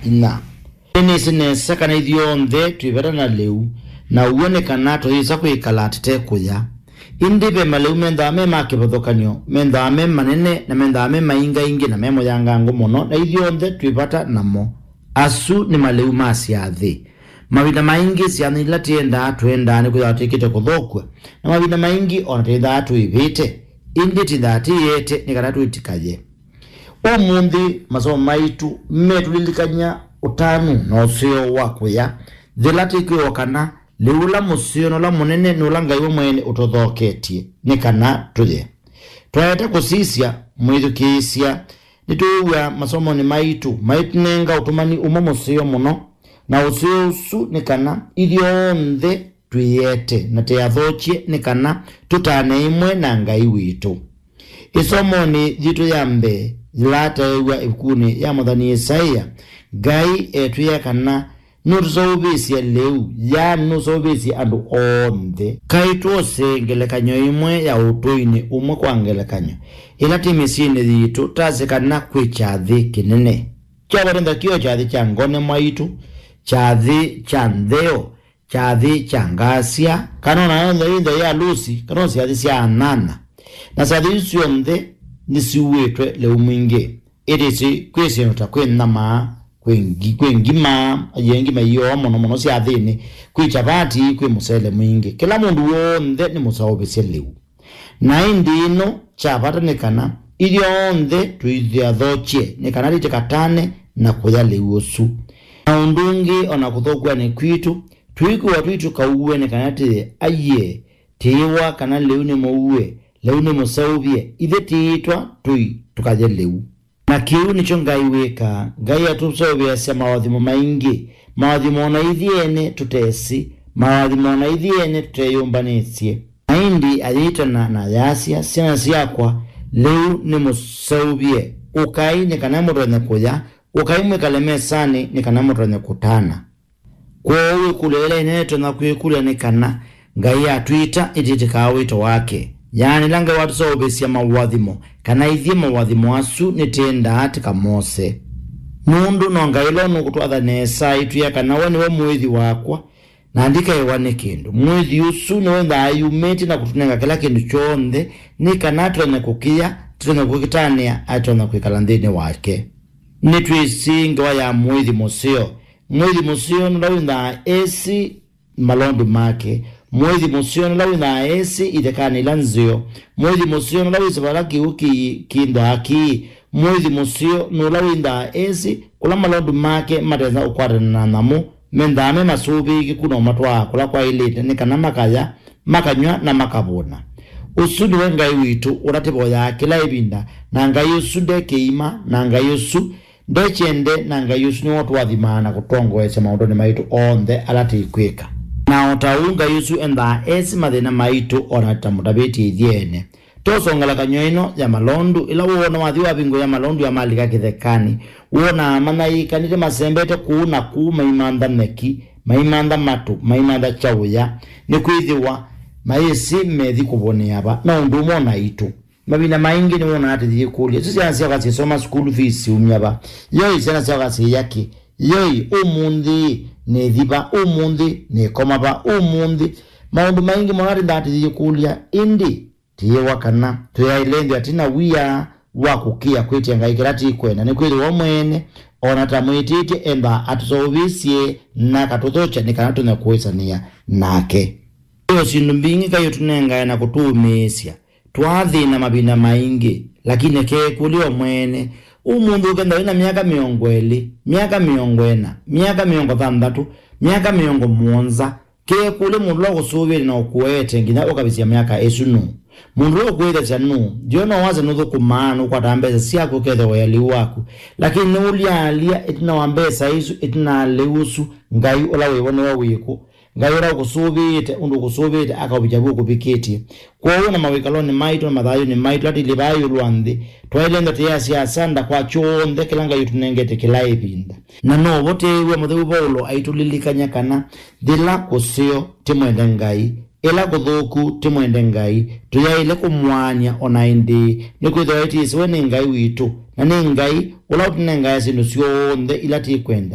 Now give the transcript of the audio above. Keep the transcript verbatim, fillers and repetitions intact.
Inya. Nĩnĩsĩ nesa kana ithyonthe twĩ vata na lĩu, na ũw'o nĩ kana tũyĩsa kwĩkala tũte kũya. Ĩndĩ ve malĩu mendaa me ma kĩvathũkany'o, mendaa me manene, na mendaa me maingaingĩ na me mũyangangu mũno, na ithyonthe twĩ vata namo. Asu nĩ malĩu ma syathĩ. Mavinda maingĩ syathĩ ila tĩendaa, twendaa nĩkwĩthĩwa twĩkĩte kũthũkw'a, na mavinda maingĩ o na twĩthaa tũĩvĩte, ĩndĩ tĩthaa tĩyĩete nĩ kana twĩtĩkaye. Ũmũnthĩ, masomo maitũ metũlilikany'a ũtanu na ũseo wa kũya, yĩla twĩkwĩw'a kana lĩu ũla mũseo na ũla mũnene nĩ ũla Ngai we mwene ũtũthoketye nĩ kana tũye. Twaete kũsisya, mwĩthukĩĩsya, nĩtwĩw'a masomonĩ maitũ maitũnenga ũtũmani ũmwe mũseo mũno, na ũseo ũsu nĩ kana ithyonthe twĩyĩete na tũyathokye nĩ kana tũtane ĩmwe na Ngai witũ. Ĩsomonĩ yitũ ya mbee, yĩla taew'a ĩvukunĩ ya mũthani Isaia, Ngai etwĩa kana nũtũseũvĩsye lĩu, yaani nũseũvĩsye andũ onthe. Kaĩ twose ngelekany'o ĩmwe ya ũtũinĩ ũmwe kwa ngelekany'o, ĩla twĩ mĩsyĩnĩ yitũ tasye kana kwĩ kyathĩ kĩnene. Kya vata nthakĩo kyathĩ kya ngone mwaitũ, kyathĩ kya ntheo, kyathĩ kya ngasya, kana o na yonthe ĩndĩ ya lũsi, kana o syathĩ sya anana. Na syathĩ isu syonthe nĩsiuĩtwe lĩu mwingĩ. Ĩtĩsĩ kwĩ syĩndũ ta kwĩ nyamaa, kwĩ ngi-, kwĩ ngima, yĩ ngima iyoo mũno mũno syathĩnĩ, kwĩ kyavati, kwĩ mũsele mwingĩ. Kĩla mũndũ w'onthe nĩ mũseũvĩsye lĩu. Na ĩndĩ ĩno kya vata nĩ kana ithyonthe tũithathokye nĩ kana tũtikatane na kũya lĩu ũsu. Na ũndũ ũngĩ, o na kũthũkw'anĩ kwitũ, twĩkwĩwa tũitũkauwe nĩ kana tĩye aiee, tĩĩwa kana lĩu nĩ mũue, lĩu nĩ mũseũvye, ithyĩ tĩitwa tũi tũkaye lĩu. Na kĩu nĩkyo Ngai wĩkaa. Ngai atũseũvĩasya maũathimo maingĩ, maũathimo o na ithyĩ ene tũtesĩ, maũathimo o na ithyĩ ene tũteyũmbanĩsye. Na ĩndĩ ayĩtana na ayasya, syana syakwa, lĩu nĩmũseũvye. Ũkai nĩ kana mũtonye kũya, ũkai mwĩkale mesanĩ nĩ kana mũtonye kũtana. Kwoou ĩkũlyo yĩla ĩnene tũtonya kwĩkũlya nĩ kana, Ngai atwĩta ĩtĩtĩkaa wĩto wake? Yaani, ĩla Ngai watũseũvĩsya maũathimo, kana ithyĩ maũathimo asu nĩtĩendaa tũkamose? Nũndũ no Ngai ũla ũnũkũtwatha nesa aitwĩa kana we nĩwe mũĩthi wakwa, na ndikaĩwa nĩ kĩndũ. Mũĩthi ũsu nĩwe wĩthaa eyumĩtye na kũtũnenga kĩla kĩndũ kyonthe, nĩ kana tũtonye kũkĩya, tũtonye kũkĩtanĩa, atonya kwĩkala nthĩnĩ wake. Nĩtwĩsĩ ngewa ya mũĩthi mũseo. Mũĩthi mũseo nũla wĩthaa esĩ malondu make. Mũĩthi mũseo nũla wĩthaa esĩ ithekanĩ ila nzeo. Mũĩthi mũseo nũla wĩsĩ vala kĩw'ũ kĩthwaa kĩĩ. Mũĩthi mũseo nũla wĩthaa esĩ kũla malondu make matesa ũkwatana na nyamũ, mendaa me masũvĩĩkĩku na ũmatwaa kũla kwaĩlĩte nĩ kana makaya, makanyw'a na makavũna. Ũsu nĩwe Ngai witũ ũla tũvoyaa kĩla ĩvinda, na Ngai ũsu nde kĩima, na Ngai ũsu nde kyende, na Ngai ũsu nĩwe ũtũathimaa na kũtongoesya maũndũnĩ maitũ onthe ala tũikwĩka. Na o ta ũu Ngai ũsu endaa esĩ mathĩna maitũ o na tũtamũtavĩtye ithyĩ ene. Tosa ngelekany'o ĩno ya malondu. Ĩla woona wathi wavingũĩa malondu ya malika kĩthekanĩ, wonaa manyaĩĩkanĩte masembete kũu na kũu maimantha nyeki, maimantha matũ, maimantha kyaũya, nĩkwĩthĩwa mayĩsĩ methi kũvũnĩa va. No ũndũ ũmwe o naitũ. Mavinda maingĩ nĩwonaa tũyĩkũlya, "Isu syana syakwa syĩsoma school fees syumya va? Yoi, syana syakwa syĩya kĩ? Yoi, ũmũnthĩ nĩthi va? Ũmũnthĩ nĩkoma va? Ũmũnthĩ?" Maũndũ maingĩ mũno tũthaa tũyĩkũlya, ĩndĩ tĩyĩwa kana tũyaĩle nthĩ atĩ na wia wa kũkĩa kwĩtya Ngai kĩla tĩkwenda, nĩkwĩthĩwa we mwene, o na ta mwĩtĩtye, endaa atũseũvĩsye na akatũthokya nĩ kana tũtonya kũĩsanĩa nake. Ĩyo syĩndũ mbingĩ Ngai ũtũnengae na kũtũũmĩĩsya. Twaathĩna mavinda maingĩ, lakini keekũlye o mwene. Ũmũnthĩ ũkenda wĩ na myaka mĩongo ĩlĩ, myaka mĩongo ĩna, myaka mĩongo thanthatũ, myaka mĩongo mũonza, keekũlye mũndũ ũla ũkũsũvĩte na ũkũete nginya ũkavisya myaka ĩsu nũũ? Mũndũ ũla ũkwĩthasya nũũ? Ndiona wasya nũthũkũmaa, nũkwataa mbesa syaku ũkethĩa ũya lĩu waku. Lakini nĩũlyaalya ĩtina wa mbesa isu, ĩtina wa lĩu ũsu, Ngai ũla wĩ vo nĩwe wĩkũ? Ngai ũla ũkũsũvĩĩte ũndũ ũkũsũvĩĩte akaũvikya vu ũkũvikĩtye. Kwoou na mawĩkalonĩ maitũ na mathayũnĩ maitũ, atĩlĩ vaa ĩũlũ wa nthĩ, twaĩle ndatĩa sya asanda kwa kyonthe kĩla Ngai ũtũnengete kĩla ĩvinda. Na no vo tĩĩw'a mũtheu Vaulo aitũlilikany'a kana yĩla kũseo tĩmwende Ngai, ĩla kũthũku tĩmwende Ngai, tũyaĩle kũmũaany'a o na ĩndĩĩ, nĩkwĩthĩwa ĩtĩsĩwe nĩ Ngai witũ, na nĩ Ngai ũla ũtũnengae syĩndũ syonthe ila tĩkwenda.